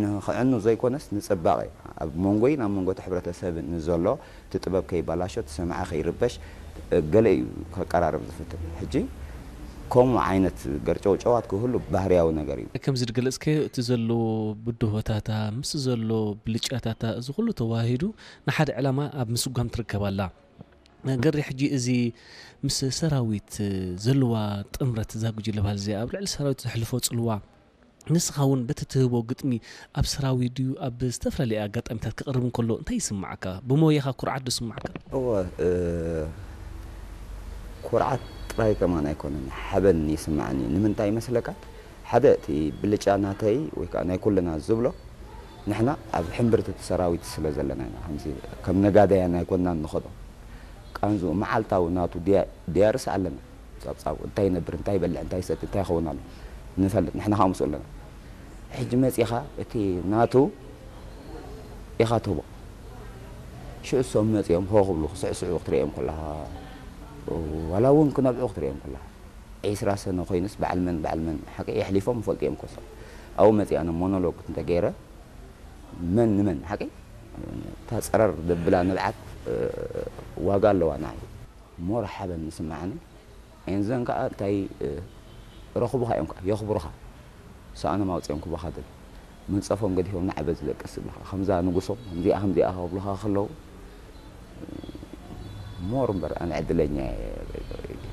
ንኽዕኑ ዘይኮነስ ንጽባቐ ኣብ መንጎይን ኣብ መንጎ እቲ ሕብረተሰብን ንዘሎ እቲ ጥበብ ከይባላሾ እቲ ሰማዒ ከይርበሽ ገለ እዩ ከቀራርብ ዝፍትን። ሕጂ ከምኡ ዓይነት ገርጨውጨዋት ክህሉ ባህርያዊ ነገር እዩ። ከምዚ ዝገለጽከዮ እቲ ዘሎ ብድሆታታ ምስ ዘሎ ብልጫታታ እዚ ኩሉ ተዋሂዱ ንሓደ ዕላማ ኣብ ምስጓም ትርከብ ኣላ። ገሪ ሕጂ እዚ ምስ ሰራዊት ዘለዋ ጥምረት እዛ ጉጅለ ባህሊ እዚኣ ኣብ ልዕሊ ሰራዊት ዘሕልፎ ጽልዋ ንስኻ እውን በቲ ትህቦ ግጥሚ ኣብ ሰራዊት ድዩ ኣብ ዝተፈላለየ ኣጋጣሚታት ክቕርብ እንከሎ እንታይ ይስምዓካ? ብሞያኻ ኩርዓት ዶ ይስምዓካ? እወ ኩርዓት ጥራይ ከማን ኣይኮነን፣ ሓበን ይስምዓኒ። ንምንታይ ይመስለካ? ሓደ እቲ ብልጫ ናተይ ወይ ከዓ ናይ ኩልና ዝብሎ ንሕና ኣብ ሕምብርቲ እቲ ሰራዊት ስለ ዘለና ኢና። ከምዚ ከም ነጋዳያን ኣይኮንናን ንኸዶ። ቃንዝኡ መዓልታዊ ናቱ ድያ- ድያርስ ኣለና። ጻብጻቡ እንታይ ይነብር፣ እንታይ ይበልዕ፣ እንታይ ይሰቲ፣ እንታይ ይኸውን ኣሎ ንፈልጥ። ንሕና ከዓ ምስኡ ኣለና። ሕጂ መጺኻ እቲ ናቱ ኢኻ ትህቦ። ሽዑ እሶም መጺኦም ሆ ክብሉ ክስዕስዑ ክትርእዮም ከለኻ፣ ዋላ እውን ክነብዑ ክትርእዮም ከለኻ፣ ዒስራ ሰነ ኮይኑስ በዓል መን በዓል መን ሓቂ የሕሊፎም ይፈልጡ እዮም ኮሶም። ኣብኡ መጺኣ ነ ሞኖሎግ እንተገይረ መን ንመን ሓቂ እታ ጸረር ደብላ ንብዓት ዋጋ ኣለዋ ንዓይ። ሞር ሓበን ዝስምዓኒ ኤንዘን ከዓ እንታይ ረኽቡኻ እዮም ከዓ የኽብሩኻ። ሰኣኖም ኣውፅኦም ክቡኻ ድል መንፀፎም ገዲፎም ንዓበ ዝለቅስ ዝብልኻ ከምዛ ንጉሶም ከምዚኣ ከምዚኣ ክብሉኻ ከለዉ ሞር እምበር ኣነ ዕድለኛ እየ።